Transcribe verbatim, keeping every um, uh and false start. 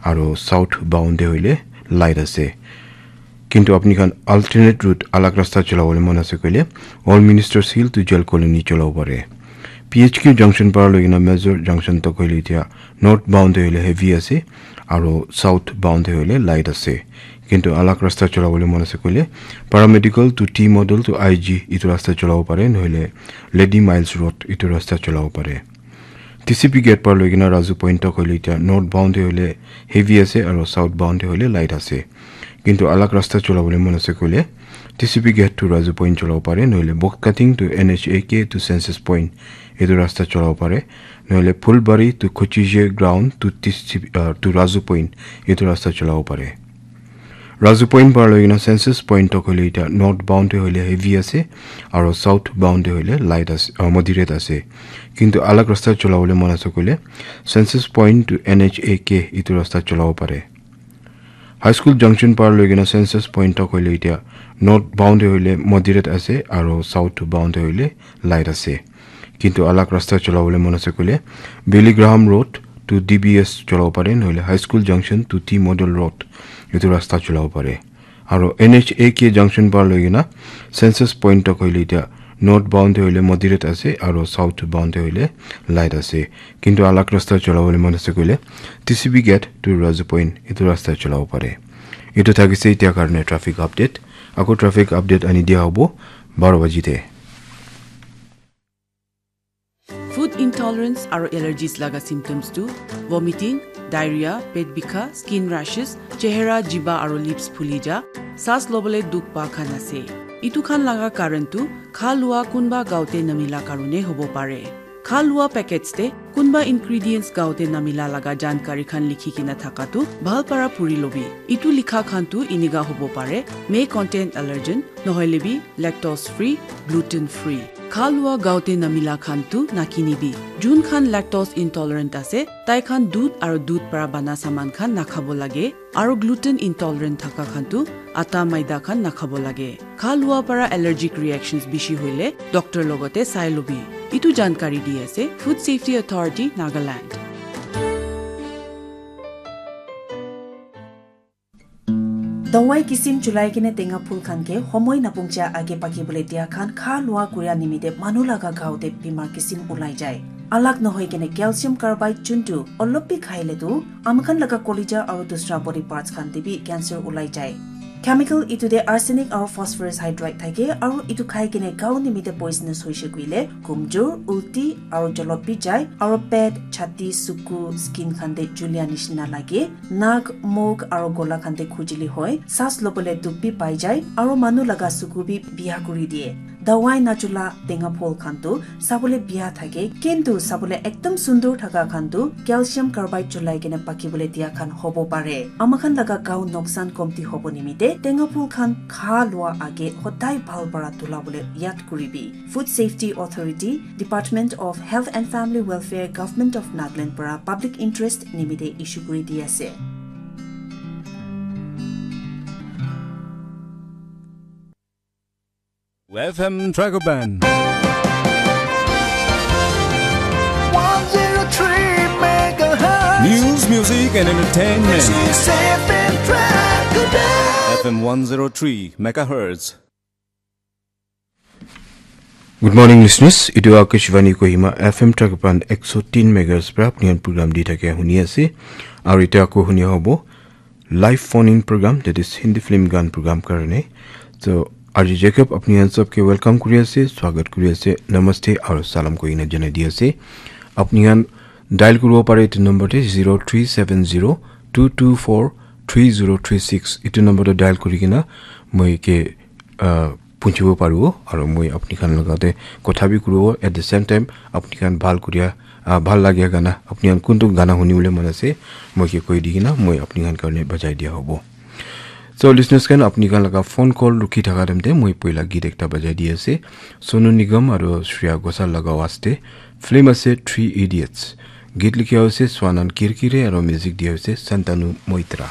aro south bound te hoile light ase. Kintu apni khan alternate route, alag rasta cholabole mon ase koile, Old Ministers Hill to Jail Colony cholabo pare. P H Q junction para loi kena Major junction tak hoile itya north bound te hoile heavy ase, aro south bound te hoile light ase. Kintu alag rasta cholabole mon ase koile, Paramedical to T Model to I G itu rasta cholabo pare, nohole Lady Miles Road itu rasta cholabo pare. T C P gate para loi kena Razu Point tak hoile itya north bound te hoile heavy ase, aro south bound te hoile light ase. Kintu alag rasta cholabole mon ase koile, T C P gate to Razu Point cholabo pare, nohole Box Cutting to N H A K to Census Point itu rasta cholabo pare, nohole Phulbari to Kochije ground to T C P, uh, to Razu Point itu rasta cholabo pare. Razu Point para loi kena Census Point tak hoile itya north bound te hoile heavy ase, aro south bound te hoile light ase, uh, moderate ase. Kintu alag rasta cholabole mon ase koile, Census Point to N H A K itu rasta cholabo pare. High School junction para loi kena Census Point tak hoile itya north bound te hoile moderate ase, aro south bound te hoile light ase. Kintu alag rasta cholabole mon ase koile, Billy Graham Road to D B S cholabo pare, nohole High School junction to T Model Road itu rasta cholabo pare. Aro N H A K junction para loi kena Census Point tak hoile itya north bound te hoile moderate ase, aro south bound te hoile light ase. Kintu alag rasta cholabole mon ase koile, T C P gate to Razu Point itu rasta cholabo pare. Itu thakise itya karne traffic update. Ako traffic update ani dia hobo baro baji te. Food intolerance aro allergies laga symptoms tu vomiting, diarrhea, pet bikha, skin rashes, chehra, jiba aro lips phuli ja, saas lobole dukh pa khan ase. Itu khan laga karan tu kha lua kunba gaote namila karone hobo pare. Kha lua packets te kunba ingredients gaote namila laga jankari khan likhi kena thaka tu bhal para puri lobi. Itu likha khan tu iniga hobo pare, may contain allergen, nohoile bi lactose free, gluten free. Kha lua gaote namila khan tu nakinibi. Jun khan lactose intolerant ase, tai khan dudh aro dudh para bana saman khan nakhabo lage, aro gluten intolerant thaka khan tu atta maida khan nakhabo lage. Kha lua para allergic reactions bishi hoile doctor logote sai lobi. Itu jankari di ase Food Safety Authority Nagaland. Dawai kisim chulai kene tenga phul khan ke homoi napungcha age paki bole dia khan kha lua kuria nimite manu laga gao te bimar kisim ulai jai. Alak nohoi kene calcium carbide chuntu olop bi khaile tu amakhan laga kolija aru dusra body parts khan te bi cancer ulai jai. Chemical itu te arsenic aru phosphorus hydride thake aru itu khai kene gao nimite poisonous hoise kuile kumjur, ulti aru jolop bi jai aru pet, chhati, suku, skin khan te julia nishina lage. Nak, muk aru gola khan te khujili hoi, saas lobole dukh bi pai jai, aru manu laga suku bi biya kuri diye. Dawai nachula tenga phol khan tu sabole biya thake, kintu sabole ekdom sundur thaka khan tu calcium carbide chulai kena pakibole diya khan hobo pare. Amakhan laga gao noksan komti hobo nimite tenga phol khan kha lua age hodai bhal para tula bole yad kuribi. Food Safety Authority, Department of Health and Family Welfare, Government of Nagaland para public interest nimite issue kuri di ase. F M Dragon Band. One zero three megahertz. News, music, and entertainment. This is F M Dragon Band. F M one zero three megahertz. Good morning, listeners. Itu Akashvani Kohima F M Dragon Band ekso tin megahertz pra apni khan program di thake huni ase. Aru itya ako huni hobo live phone in program, that is Hindi film gan program karne. So, Arji Jacob apni khan sabke welcome kuri ase, swagat kuri ase, namaste aru salam koi na janai di ase. Apni khan dial kuribo pare itu number te zero three seven zero two two four three zero three six. Itu number te dial kuri kena moi ke, ah, punchibo paribo, aru moi apni khan logate kotha bi kuribo. At the same time, apni khan bhal kuria, ah, bhal lagia gana, apni khan kuntu gana huni bole mon ase, moi ke koi di kena, moi apni khan karne bajai dia hobo. So, listeners khan, apni khan laga phone call rukhi thaka time te, moi poila git ekta bajai di ase. Sonu Nigam aru Shreya Ghoshal laga waste. Film ase Three Idiots. Git likhi ase Swanan Kirkire aru music dia ase Santanu Moitra.